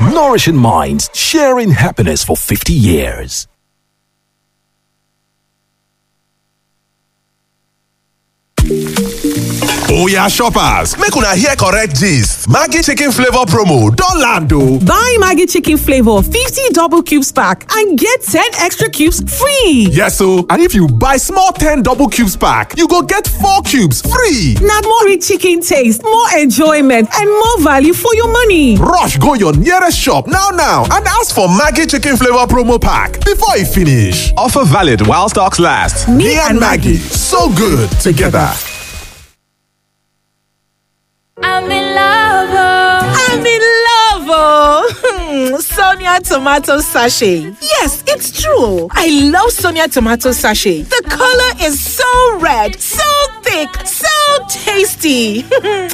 Nourishing minds, sharing happiness for 50 years. Oya shoppers, make una hear correct gist. Maggi chicken flavour promo don land o. Buy Maggi chicken flavor 50 double cubes pack and get 10 extra cubes free. Yes o, and if you buy small 10 double cubes pack, you go get 4 cubes free. Na more rich chicken taste, more enjoyment, and more value for your money. Rush go your nearest shop now now and ask for Maggi chicken flavour promo pack before e finish. Offer valid while stocks last. Me and Maggi, so good together. I'm in love. Oh. I'm in love. Oh. Sonia tomato sachet. Yes, it's true. I love Sonia tomato sachet. The color is so red, so thick, so tasty.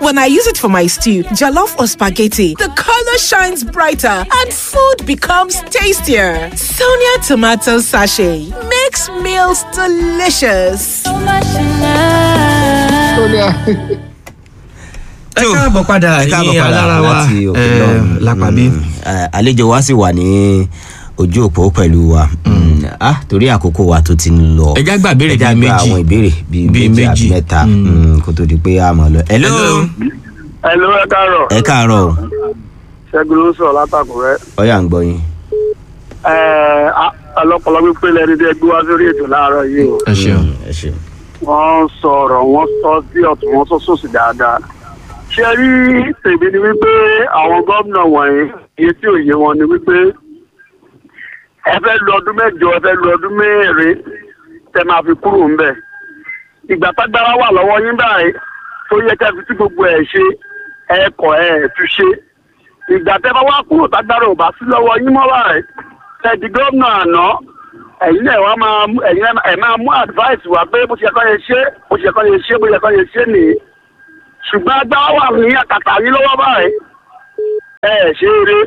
When I use it for my stew, jollof or spaghetti, the color shines brighter and food becomes tastier. Sonia tomato sachet makes meals delicious. So much in love. Sonia. Ẹ káàbọ̀ padà Ẹ káàbọ̀ ní padà alára wa láti òkè lọ́hùn. lápàbí. Àlejò wa sì wà ní ojú òpó pẹ̀lú wa. Torí àkókò wa tó ti ń lọ. Ẹ já gba ìbéèrè Ẹ já bíi gba méjì. àwọn ìbéèrè bíi Bíi méjì àbí méjì. mẹ́ta, kó tó di pé a mọ̀ lọ. Hello. Hello, ẹ káàárọ̀. Ẹ káàárọ̀ o. Ṣẹ́gun ló ń sọ̀rọ̀ látàkùrẹ́. Ọ̀yà ń gbọ́ yín. Ẹ ọlọ́pọlọ pípé lẹni tí ẹ gbé wá sórí ètò láàárọ̀ yìí o. Ẹ ṣeun. Ẹ ṣeun. Wọ́n sọ̀rọ̀, wọ́n sọ sí ọ̀tún, wọ́n sọ sósì dáadáa. Ṣé rí tèmi ni wípé àwọn gómìnà wọ̀nyí, iye tí òye wọn ni wípé ẹ fẹ́ lu ọdún 8, ẹ fẹ́ lu ọdún 4 tẹ máa fi kúrò ńbẹ̀. Ìgbà tágbára wà lọ́wọ́ yín báyìí tó yẹ kẹ́ fi tí gbogbo ẹ̀ ṣe, ẹ kọ̀ ẹ̀ tún ṣe. Ìgbà tẹ́ bá wá kúrò tágbára ò bá sí lọ́wọ́ yín mọ́ báyìí, ẹ di gómìnà àná, ẹ̀yin náà wá máa mú- ẹ̀yin náà ẹ̀ máa mú advice wá pé bó ṣe yẹ kó yẹ ṣe, bó ṣe yẹ kó yẹ ṣe, bó ṣe yẹ kó yẹ ṣe nìyí. Ṣùgbọ́n agbára wà ní àkàtà yín lọ́wọ́ báyìí, ẹ ẹ̀ ṣe eré,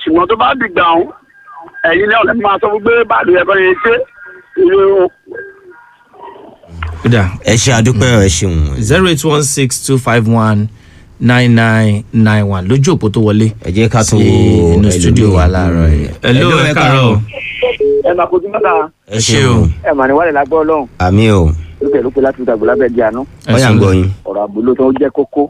ṣùgbọ́n tó bá dìgbà ọ̀hún, ẹ̀yin náà lè máa sọ fún pé báàlù yẹ kó yẹ ṣe ìlú. Kódà. Ẹ ṣe àdúpẹ́, ẹ ṣeun. 08162519991 lójú òpó tó wọlé. Ẹ jẹ́ ká tún sí wo inú studio ẹlòmíì. wa láàárọ̀ yìí. Hello, Hello, ẹ káàárọ̀. Ẹ máa kojú mọ́ta. Ẹ ṣeun. Ẹ mà ní wàlẹ̀ lágbọ́ ọlọ́run. Àmì o. Lókè lókè láti ìdàgbò lábẹ́ di àná. Ọ̀yà ń gbọ́ yín. Ọ̀rọ̀ àbúlò tó jẹ́ kókó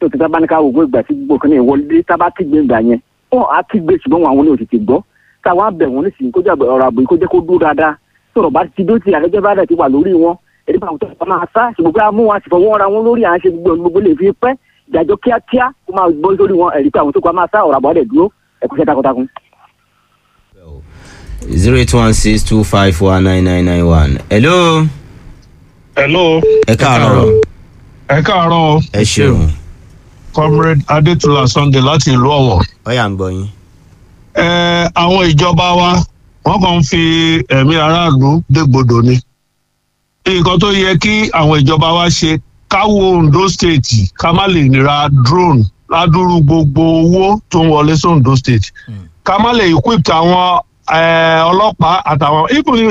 tó ti tábà ní ká wò ó, ìgbà tí gbogbo kan ní ìwọlé tábà kígbe ìgbà yẹn, wọn á kígbe, ṣùgbọ́n àwọn ní òtítì gbọ́. Táwọn á bẹ̀ wọ́n nísìnyí kó jẹ́ ọ̀rọ̀ àbò yìí kó jẹ́ kó dúró dáadáa. Sọ̀rọ̀ bá ti dó ti àlejò bá dẹ̀ ti wà lórí wọn, èdè bá àwọn tó bá máa sá, ṣùgbọ́n pé a mú wọn a sì fọwọ́ ra wọn lórí, à ń ṣe gbogbo gbogbo lè fi pẹ́ ìdájọ́ kíákíá kó máa gbọ́ sórí wọn, ẹ̀rí pé àwọn tó kọ́ máa sá, ọ̀rọ̀ àbọ̀ dẹ̀ dúró. Ẹ̀kúṣẹ́ takuntakun. 08162519991. Hello. Hello. Ẹ káàárọ̀. Ẹ káàárọ̀ o. Ẹ ṣeun. Comrade Adétúlá Sunday láti ìlú Ọ̀wọ̀. Ọ̀yà ń gbọ́ yín. Ẹ àwọn ìjọba wa, wọ́n kàn ń fi ẹ̀mí aráàlú dégbodò ni. Nǹkan tó yẹ kí àwọn ìjọba wa ṣe, ká wo Ondo State, ká má lè ra drone ládùúrú gbogbo owó tó ń wọlé sí Ondo State. Ká má lè equip àwọn ọlọ́pàá àtàwọn even,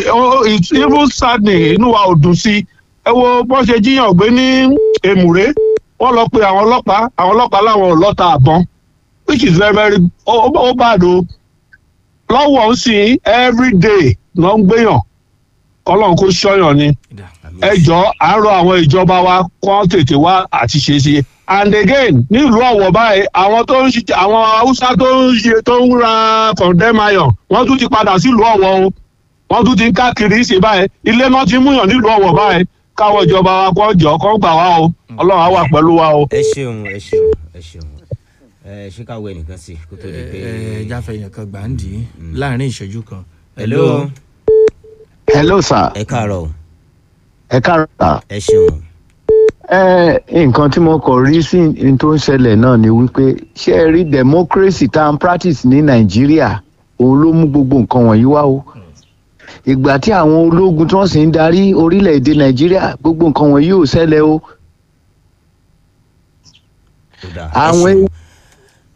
it's even sadly, inú wa ò dùn sí. Ẹ wo bọ́n ṣe jíyàn gbé ní Èmùrè, wọ́n lọ pe àwọn ọlọ́pàá, àwọn ọlọ́pàá láwọn ò lọ́ta àbọ̀n, which is very very ó bad o. Lọ́wọ́ ń sìn, every day ló ń gbéyàn, kọ́lọ́n kó ṣọ́yàn ni. Ẹ jọ, à ń rọ àwọn ìjọba wa kó tètè wá àti ṣe ṣe. And again, nílùú Ọ̀wọ̀ báyìí, àwọn tó ń ṣiṣẹ́, àwọn Haúsá tó ń ṣe, tó ń ra condemn iron, wọ́n tún ti padà sílùú Ọ̀wọ̀ o. Wọ́n tún ti ń káàkiri ṣe báyìí, ilé náà ti múyàn nílùú Ọ̀wọ̀ báyìí. Káwọn ìjọba wa kó jọ kó gbà wá o. Ọlọ́run á wà pẹ̀lú wa o. Ẹ ṣeun, ẹ ṣeun, ẹ ṣeun. Ẹ ṣé ká wo ẹnìkan sí kó tó di pé. Ẹ jáfẹ́ yẹn kan gbàǹdì láàrin ìṣẹ́jú kan. Hello. Hello sir. Ẹ káàárọ̀ o. Ẹ káàárọ̀ sir. Ẹ ṣeun. Ẹ nǹkan tí mo kọ̀ rí sí n tó ń ṣẹlẹ̀ náà ni wípé, ṣé ẹ rí democracy tá à ń practice ní Nàìjíríà, òun ló mú gbogbo nǹkan wọ̀nyí wá o. Ìgbà tí àwọn ológun tí wọ́n sì ń darí orílẹ̀-èdè Nàìjíríà, gbogbo nǹkan wọ̀nyí ò ṣẹlẹ̀ o. Àwọn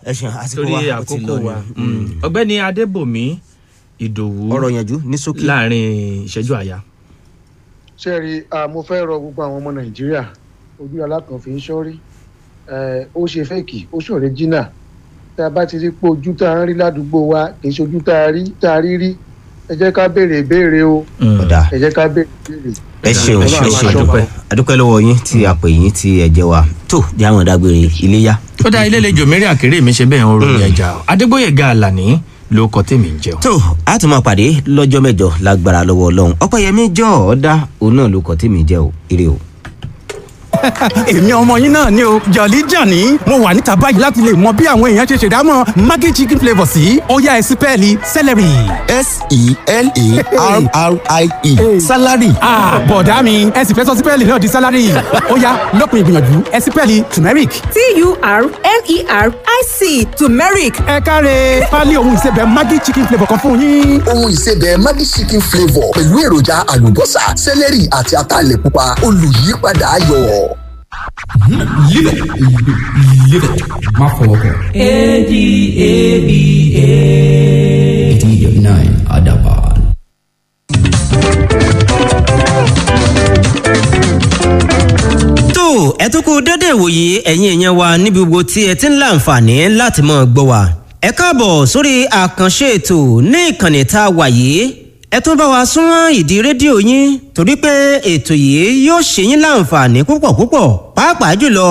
Ẹ ṣeun, àsìkò Torí wa ó ti àkókò lọ ni. wa. Ọ̀gbẹ́ni Adébòmí Ìdòwú, ọ̀rọ̀ yanjú ní ṣókí. Láàrin ìṣẹ́jú àyà. Ṣé ẹ rí i, mo fẹ́ rọ gbogbo àwọn ọmọ Nàìjíríà, ojú alákan fi ń ṣọ́rí. Ó ṣe fake, ó ṣòro jìnnà. Tá a bá ti rí pé ojú tá a ń rí ládùúgbò wa kì í ṣe ojú tá a rí tá a rí rí, ẹ jẹ́ ká béèrè ìbéèrè o. Ẹ jẹ́ ká béèrè ìbéèrè. Ẹ ṣeun, ẹ ṣeun, adúpẹ́ lọ́wọ́ yín tí a pè yín tí ẹ jẹ́ wa tó jẹ́ àwọn ìdágbére iléyá. Ó dá ilé lejò mẹ́rin àkèrè mi ṣe bẹ́ẹ̀ ń ròyìn ẹja o. Adégbòyèga Àlàní ló kọ tèmi ń jẹun. Tó a tún máa pàdé lọ́jọ́ mẹ́jọ lágbára lọ́wọ́ Ọlọ́run. Ọpẹ́yẹmí jọ ọ́ dá òun náà ló kọ tèmi jẹ́ o. Ire o. Èmi ọmọ yín náà ni o, Jọ̀lí Jàní. Mo wà níta báyìí láti lè mọ bí àwọn èèyàn ṣe ṣèdámọ̀ Maggi chicken flavour sí. Ó yá, ẹ sípẹ́ẹ̀lì celery. S-E-L-A-R-R-I-E, salary. Bọ̀dá mi, ẹ sì fẹ́ sọ sípẹ́ẹ̀lì náà di salary. Ó yá, lópin ìgbìyànjú, ẹ sípẹ́ẹ̀lì turmeric. T-U-R-M-E-R-I-C, turmeric. Ẹ káre, pálí ohun ìsebẹ̀ Maggi chicken flavour kan fún yín. Ohun ìsebẹ̀ Maggi chicken flavour pẹ̀lú èròjà àlùbọ́sà, celery àti ataalẹ̀ pupa, olùyípadà ayọ̀. Live it. Live it. Má fọwọ́ kàn. A-D-A-B-A. 89 Adaban. Tó ẹ tún kú dédé ìwòye, ẹ̀yin èèyàn wa níbi gbogbo tí ẹ ti ń láǹfààní láti mọ̀ gbọ́ wa. Ẹ káàbọ̀ sórí àkànṣe ètò ní ìkànnì tá a wà yìí. Ẹ tún bá wa súnmọ́ ìdí rédíò yín torí pé ètò yìí yóò ṣe yín láǹfààní púpọ̀ púpọ̀, pàápàá jùlọ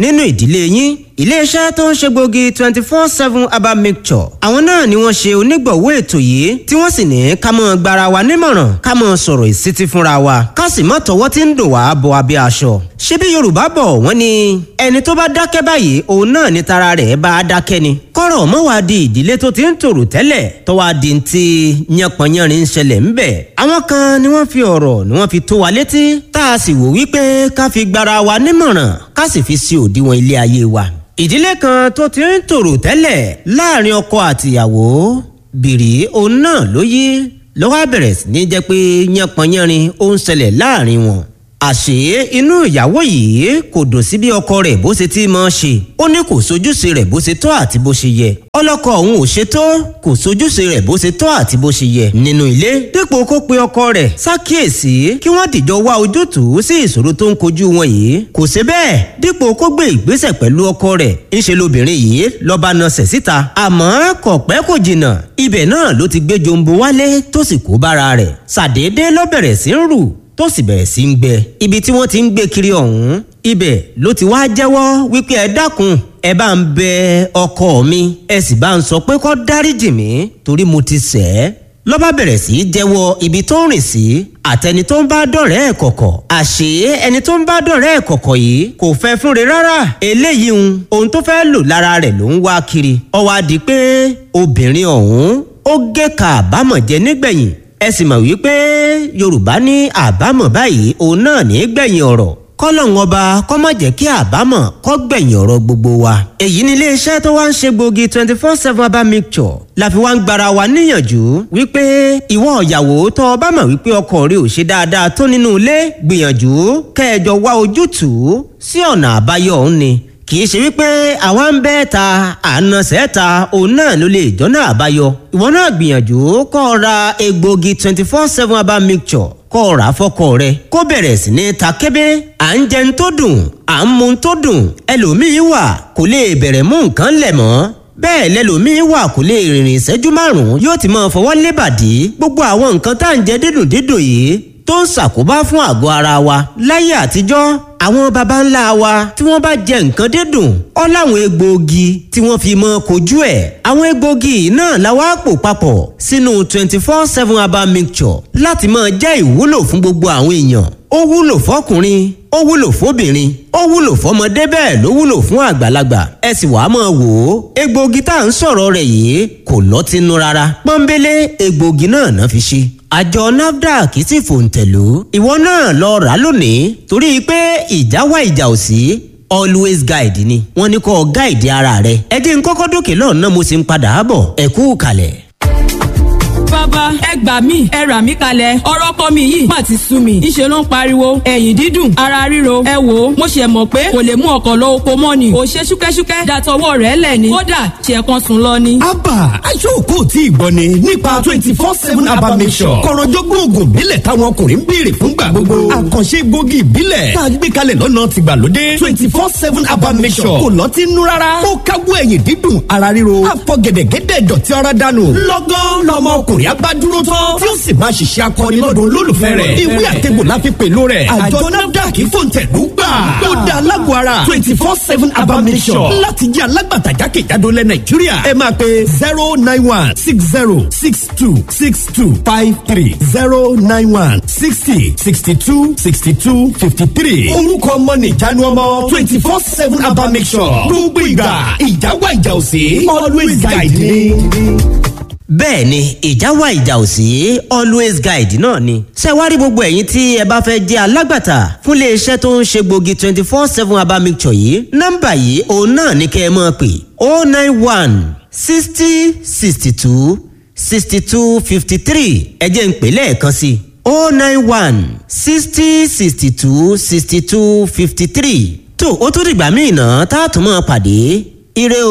nínú ìdílé yín. Iléeṣẹ́ tó ń ṣe gbòógì 24/7 herbal mixture, àwọn náà ni wọ́n ṣe onígbọ̀wọ́ ètò yìí, tí wọ́n sì ní ká mọ́ gbara wa nímọ̀ràn, ká mọ́ sọ̀rọ̀ ìsítí fúnra wa, ká sì mọ́ tọwọ́ tí ń dùn wá bọ abẹ́ aṣọ. Ṣé bí Yorùbá bọ̀, wọ́n ní ẹni tó bá dákẹ́ báyìí, òun náà ni tara rẹ̀ bá a dákẹ́ ni. Kọ́rọ̀ mọ́ wá di ìdílé tó ti ń tòrò tẹ́lẹ̀ tó wá di ti yánpọnyánrin ń ṣẹlẹ̀ ńbẹ̀. Àwọn kan ni wọ́n fi ọ̀rọ̀ ni wọ́n fi tó wa létí, tá a sì wò wípé ká fi gbara wa nímọ̀ràn, ká sì fi sí òdiwọ̀n ilé ayé wa. Ìdílé kan tó ti ń tòrò tẹ́lẹ̀ láàrin ọkọ àtìyàwó, bìrì òun náà ló yí lọ́wọ́ bẹ̀rẹ̀ sí ní jẹ́ pé yánpọnyánrin ó ń ṣẹlẹ̀ láàrin wọn. Àṣé inú ìyàwó yìí kò dùn sí bí ọkọ rẹ̀ bó ṣe ti máa ṣe. Ó ní kò sojúṣe rẹ̀ bó ṣe tọ́ àti bó ṣe yẹ. Ọlọ́kọ òun ò ṣe tó, kò sojúṣe rẹ̀ bó ṣe tọ́ àti bó ṣe yẹ nínú ilé. Dípò kó pe ọkọ rẹ̀ ṣàkíyèsí kí wọ́n dìjọ wá ojútùú sí ìṣòro tó ń kojú wọn yìí, kò ṣe bẹ́ẹ̀. Dípò kó gbé ìgbésẹ̀ pẹ̀lú ọkọ rẹ̀, ńṣe lobìnrin yìí lọ́ba nasẹ̀ síta. Àmọ́ kò pẹ́ kò jìnnà, ibẹ̀ náà ló ti gbé jombo wálé tó sì kó bára rẹ̀. Ṣàdédé ló bẹ̀rẹ̀ sí ń rù tó sì bẹ̀rẹ̀ sí ń gbẹ. Ibi tí wọ́n ti ń gbé kiri ọ̀hún, ibẹ̀ ló ti wá jẹ́wọ́ wípé ẹ dákun, ẹ bá ń bẹ ọkọ mi, ẹ sì bá ń sọ pé kó dáríjì mí torí mo ti ṣẹ̀ ẹ́. Ló bá bẹ̀rẹ̀ sí í jẹ́wọ́ ibi tó ń rìn sí àtẹni tó ń bá dọ̀rẹ́ ẹ̀ kọ̀kọ̀. Àṣé ẹni tó ń bá dọ̀rẹ́ ẹ̀ kọ̀kọ̀ yìí kò fẹ́ fúnre rárá. Eléyìí ń ohun tó fẹ́ lò lára rẹ̀ ló ń wá kiri. Ó wá di pé obìnrin ọ̀hún ó gé ka àbámọ̀ jẹ nígbẹ̀yìn. Ẹ sì mọ̀ wípé Yorùbá ní àbámọ̀ báyìí òun náà ní gbẹ̀yìn ọ̀rọ̀. Kọ́lọ́hún ọba kó má jẹ́ kí àbámọ̀ kó gbẹ̀yìn ọ̀rọ̀ gbogbo wa. Èyí ni iléeṣẹ́ tó wá ń ṣe gbòógì 24/7 herbal mixture la fi wá ń gbara wa níyànjú wípé ìwọ ìyàwó tó o bá mọ̀ wípé ọkọ rẹ ò ṣe dáadáa tó nínú ilé, gbìyànjú kẹjọ wá ojútùú sí ọ̀nà àbáyọ òun ni. Kì í ṣe wípé àwa ń bẹ́ ta àna sẹ́ta òun náà ló lè jọ́nà àbáyọ. Ìwọ náà gbìyànjú kó o ra egbògi 24/7 herbal mixture, kó o rà á fọ́kọ rẹ kó bẹ̀rẹ̀ sí ní ta kébé. À ń jẹun tó dùn, à ń mu tó dùn, ẹlòmíín wà kò lè bẹ̀rẹ̀ mú nǹkan lẹ̀ mọ́. Bẹ́ẹ̀ lẹlòmíín wà kò lè rìnrìn ìṣẹ́jú márùn-ún, yóò ti máa fọwọ́ lébàdí. Gbogbo àwọn nǹkan tá à ń jẹ dídùn dídùn yìí tó ń ṣàkóbá fún àgọ́ ara wa. Láyé àtijọ́, àwọn baba ńlá wa tí wọ́n bá jẹ nǹkan dídùn, ó láwọn egbòogi tí wọ́n fi mọ́ kojú ẹ̀. Àwọn egbòogi náà la wá pò papọ̀ sínú 24/7 herbal mixture láti máa jẹ́ ìwúlò fún gbogbo àwọn èèyàn. Ó wúlò fọkùnrin, ó wúlò fóbìnrin, ó wúlò fọmọdé, bẹ́ẹ̀ ló wúlò fún àgbàlagbà. Ẹ sì wàá máa wò ó, egbòogi tá à ń sọ̀rọ̀ rẹ̀ yìí kò lọ́tínú rárá. Pọ́nbélé egbòogi náà náà fi ṣe. Àjọ NAFDAC sì fòǹtẹ̀lú. Ìwọ náà lọ rà lónìí torí pé ìjà wá ìjà ò sí, always guide ni wọ́n ní kó guide ara rẹ̀. Ẹ jẹ́ n kọ́kọ́ dókè lọ́nà, mo sì ń padà bọ̀. Ẹ kú kalẹ̀. Bàbá Bàbá, ẹ gbà mí, ẹ rà mí kalẹ̀, ọ̀rọ̀ ọkọ mi yìí má ti sú mi. Ńṣe ló ń pariwo, ẹ̀yìn dídùn, ara ríro. Ẹ wò ó, mo ṣe mọ̀ pé kò lè mú ọkọ̀ lọ oko mọ́ ni. Ò ṣe ṣúkẹ́ṣúkẹ́ dàtọwọ́ rẹ̀ lẹ̀ ni. Kódà ṣe kan sùn lọ ni. Abba aṣọ́ọ̀kọ́ tí ìgbọ́ ni nípa 24/7 Abba Mixture. Kọ̀rọ̀jọ́gbọ́n oògùn ìbílẹ̀ táwọn ọkùnrin ń béèrè fúngbà gbogbo. Àkànṣe egbògi ìbílẹ̀ tá a gbé kalẹ̀ lọ́nà tìgbàlódé. 24/7 Abba Mixture kò lọ́tí nú rárá. Ó káwọ́ ẹ̀yìn dídùn, ara ríro, àfọ̀gẹ̀dẹ̀gẹ̀dẹ̀ dọ̀tí ara dànù. Lọ́gán lọmọ ọkùnrin abádúró tán tí ó sì máa ṣiṣẹ́ akọni lọ́dún olólùfẹ́ rẹ̀. Ìwé àtẹ̀gbò la fi pèlò rẹ̀. Àjọ NAFDAC fòǹtẹ̀lú gbà. Ó da alágọ̀ ara 24/7 Abba Mixture láti jẹ́ alágbàtà jákèjádò lẹ̀ Nàìjíríà. Ẹ máa pe 09160626253, 09160626253. Orúkọ ọmọ nìjánu ọmọ 24/7 Abba Mixture. Gbogbo ìgbà ìjà wà ìjà òsì, always guide me. Bẹ́ẹ̀ ni, ìjà wà ìjà ò sí, always guide náà ni. Ṣé wá rí gbogbo ẹ̀yin tí ẹ bá fẹ́ jẹ́ alágbàtà fún iléeṣẹ́ tó ń ṣe gbòógì 24/7 herbal mixture yìí, nọ́mbà yìí òun náà ni kẹ́ ẹ máa pè: 091 60 62 62 53. Ẹ jẹ́ n pè lẹ́ẹ̀kan sí i: 091 60 62 62 53. Tó o tún dìgbà míì náà tá a tún máa pàdé. Ire o.